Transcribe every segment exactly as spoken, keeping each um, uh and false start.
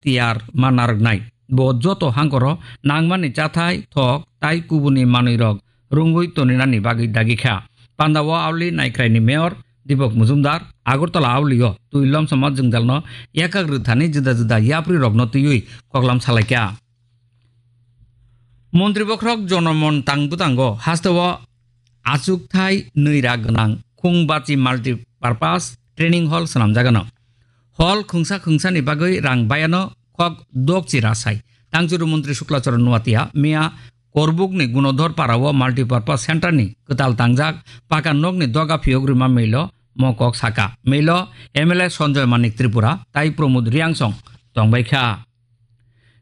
tiyar ma narwknai. Bo joto hangkoro nangmani chathai, thok tai kubuni manwirok rwngwi toninani bagwi dagi kha. Pandao Auli Naikraini Mayor Dipok Mujumdar Agartala Aulio twi lomsama jwngjalno yakak rwthani juda juda yaprirokno twiwi koklam salaikha. Montri bokhorok Jonomon tang bwtango hasteo achukthai nwi ra gwnang Khungbachi Multipurpose Training Hall swnamjagano. Hall khungsa khungsani bagwi rang bayano khok dokchi rasai. Tangchuru Montri Shukla Charan Nuatia miya Korbukni Gunodhor Parao Multipurpose Centre ni kwtal tangjak paka nokni doga phiyok rwma milo mo kok saka. Milo M L A Sanjoy Manik Tripura tai Pramod Riangsong tongbai kha.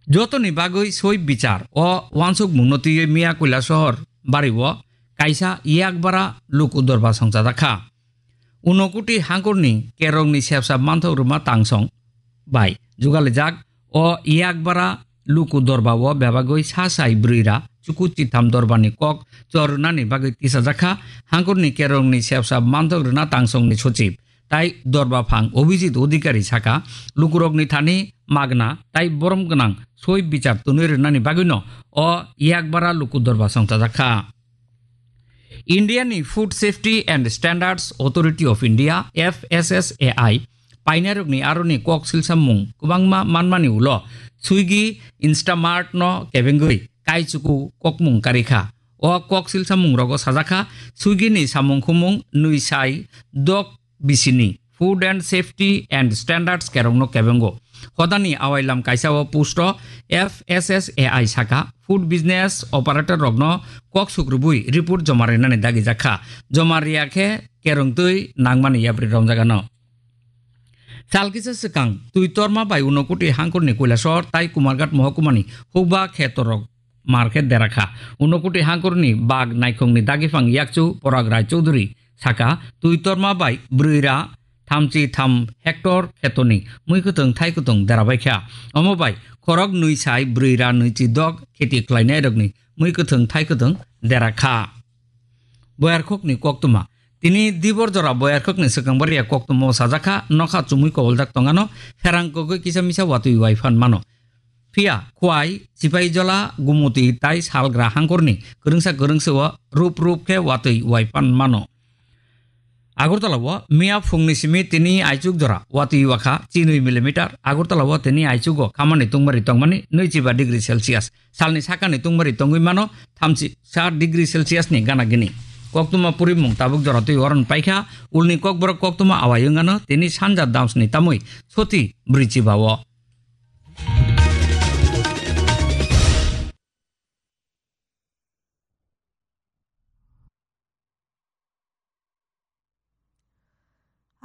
Jotoni bagwi soi bichar o uansukmungno twiwi miya Koilasohor bario kaisa yakbara luku dorba songchajak kha. Unokoti hangkorni kerongni sepsa manthok rwma tangsong bai jugalijak o yakbara luku dorba o bebagwi sa sai bwrwi ra chuku chitham dorbani kok chor rwnani bagwi tisajak kha. Hangkorni kerongni sepsa manthok rwna tangsongni sochib tai dorba phang Abhijit Odhikari saka, lukurokni thani magna tai borom gwnang soi bichar twnwi rwnani bagwino o yakbara luku dorba songchajak kha. Indiani Food Safety and Standards Authority of India, F S S A I, painairokni aroni kok silsamung kwbangma manmani ulo Swiggy, Instamart no kebengwi kaichuku kokmung karikha. O kok silsamungrogo sajakha Swiggy ni samung khumung nwi sai dok bisini Food and Safety and Standards kerongno kebengo. Hodani awailam kaisa o post o F S S A I saka food business operator rokno kok sukrubui report joma rinani dagi jakha. Joma riya khe kerongtwi nangmani yapri romjagano. Sal kisa swkang twi torma bai Unokoti hangkorni Koilasor tai Kumarghat mohkumani hukba khetorok mar khe derakha. Unokoti hangkorni bag naikhongni dagipang yakchu Porag Rai Chowdhury saka, twi torma bai bwrwi ra thamchi tham hector khetoni mui kwthwng thai kwthwng derabaikha. Omo bai khorok nwi sai bwrwi ra nwichi dok kheti khlainairokni mui kwthwng thai kwthwng derakha. Boyarkhokni koktwma. Tini dibor jora Boyarkhokni swkang baria koktwmao sajakha, nokha chumui koboljak tongano, pherang kogwi kisa misa watwi wai phan mano. Phiya Khwai, Sipahijola, Gumuti tai Salgra hangkorni kwrwngsa kwrwngsao rup rup khe watwi wai phan mano. Agartala o miya phungni simi tini aichuk jora watwi wakha chinwi millimeter. Agartala o tini aichugo khamani tungmari tongmani nwichiba degree Celsius. Salni sakani tungmari tongwi mano thamchi sa degree Celsius ni gana gini. Koktwma purimung tabuk jora twi oron paikha, ulni kokborok koktwma awai wngano tini sanja damsni tamwi soti bwrwichiba o.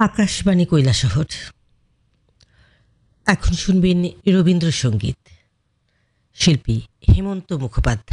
Akashvani কৈলাসহর। এখন শুনবেন রবীন্দ্রসঙ্গীত। শিল্পী হেমন্ত মুখোপাধ্যায়।